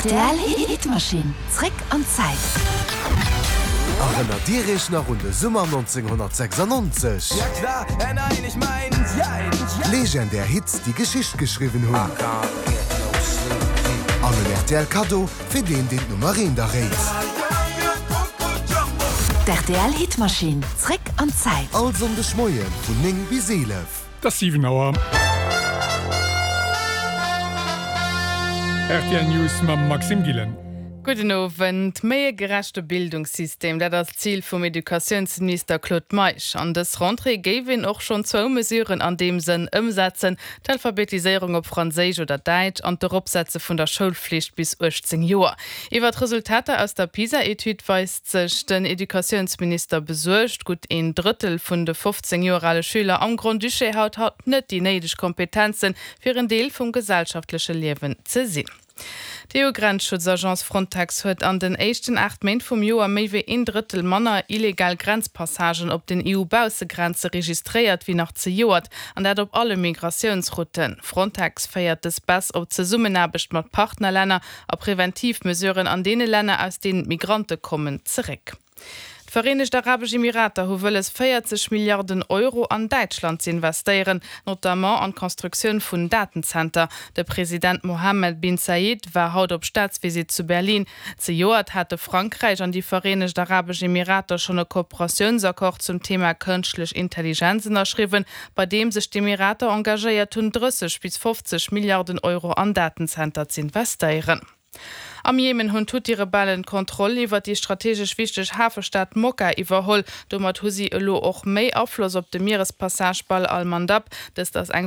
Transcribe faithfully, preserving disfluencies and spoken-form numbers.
Rtl Hitmaschinn, zréck an d'Zäit. Erënnert Dir Iech nach un de Summer nonzénghonnertsechsannonzeg? Legendär Hits, déi Geschicht geschriwwen hunn. An en R T L Kaddo fir deen, deen d'Nummer eent erréit. D'R T L Hitmaschinn, zréck an d'Zäit. All Sonndeg Moie vun néng bis eelef. Et ass siwen Auer. R T L News mam Maxime Gillen. Gudden Owend. Méi e gerechte Bildungssystem, dat ass d'Zil vum Educatiounsminister Claude Meisch. An dës Rentrée géif een och schonn zwou Mesuren an deem Sënn ëmsetzen, d'Alphabetiséierung op Franséisch oder Däitsch an d'Eropsetze vun der Schoulflicht bis uechtzéng Joer. Iwwer d'Resultater aus der PISA-Etüd weist sech den Educatiounsminister besuergt. Gutt een Drëttel vun de fofzéng Joer ale Schüler am Grand-Duché haut hat net déi néideg Kompetenzen, fir en Deel vum gesellschaftleche Liewen ze sinn. D'E U-Grenzschutzagence Frontex huet an den éischten aacht Méint vum Joer méi wéi een Drëttel manner illegal Grenzpassagen op den E U-Baussegrenze registréiert wéi nach zejoert, an dat op alle Migratiounsrouten. Frontex féiert dës Baisse op d'Zesummenaarbecht mat Partnerlänner a preventiv Mesuren an deene Länner, aus deenen d'Migrante kommen, zeréck. D'Vereenegt Arabesch Emirater hu wëlles véierzeg Milliarden Euro an Däitschland z'investéieren, notamment an d'Constructioun vun Datenzenter. De President Mohammed bin Zayed war haut op Staatsvisitt zu Berlin. Zejoert hate Frankräich an déi Vereenegt Arabesch Emirater schonn e Kooperatiounsaccord zum Thema kënschtlech Intelligenz ënnerschriwwen, bei deem sech d'Emirater engagéiert hunn, drësseg bis fofzeg Milliarden Euro an Datenzenter z'investéieren. Am Jemen hunn d'Huthi-Rebellen d'Kontroll iwwer déi strategesch wichteg Hafestad Mokka iwwerholl. Domat hu si elo och méi Afloss op de Mierespassage Bab al-Mandab. Dëst ass eng